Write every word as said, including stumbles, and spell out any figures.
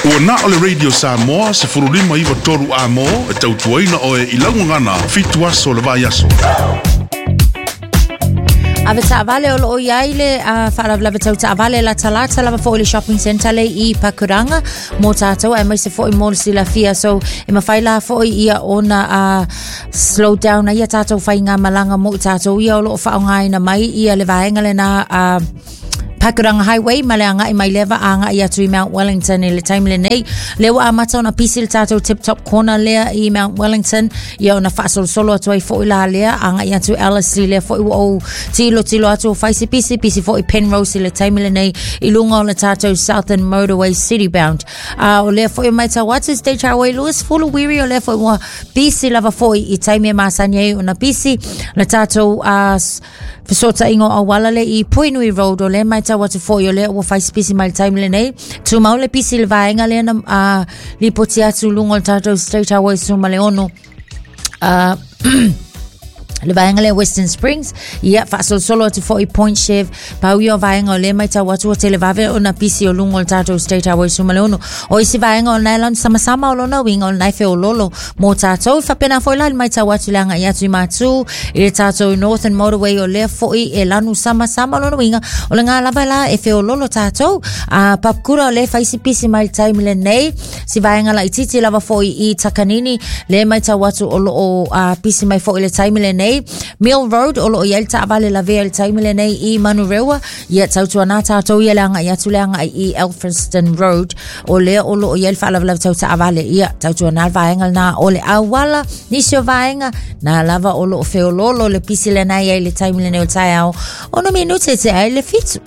Ua na o le Radio Samoa se furulima iwa toru a mō e tautuaina oe i laugagana fitu aso le vai aso. Ave taavale o loo iai le uh, faalavelave tau taavale latalata lava foʻi le shopping centre le i Pakuranga mo tatou aemaise foʻi mo le silafia. So e mafai la foʻi ia ona uh, slow down ai ia tatou faigamalaga mo i tatou ia o loo faaaogāina mai ia le vaega lenā uh, Pakuranga Highway ma le agai mai leva agai atu i Mount Wellington i le taimi lenei. Lea ua amata ona pisi le tatou Tip Top Corner lea i Mount Wellington, ia ona faasolosolo atu ai foʻi la lea agai atu Ellerslie. Lea foʻi ua ou tilotilo atu o fai se pisi pisi foʻi Penrose i le taimi lenei i luga o le tatou Southern Motorway city bound. A o lea foʻi matau atu State Highway Lewis Fulu Wiri, o lea foʻi ua pisi lava foʻi i taimi e masani ai ona pisi le tatou uh, fesootaiga o auala le i Puinui Road. O lea matau atu foʻi o lea ua fai se pisi mai le taimi lenei. Tumau le pisi le vaega lea na uh, lipoti atu luga o le tatou State Highway suma le ono uh, le vaega lea Western Springs, ia faasolosolo atu foʻi Point Chev. Pau ia o vaega o lea matau atu ua televave ona pisi o luga o le tatou State Highway suma le ono. O isi vaega o lena e samasama, o lona uiga o lena e feololo mo tatou. Faapena foʻi la le matau atu le agai atu i Matu i le tatou Northern Motorway, o lea foʻi e lanu samasama, o lona uiga o le gā lava la e feololo tatou. A Papakura, o lea faisi pisi mai le taimi lenei si vaega laititi lava foʻi i Takanini, lea matau atu o loo uh, pisi mai foʻi le taimi lenei. Mill Road, o loo iai le taavale lavea i le taimi lenei i Manurewa, ia tautuanā tatou ia le agai atu le agai i Elphinstone Road, o lea o loo iai le faalavelave tau taavale, ia tautuanā le vaega lenā o le auala. Nisi o vaega na lava o loo feololo le pisi lenei ai le taimi lenei o taeao ono minute te ai le fitu.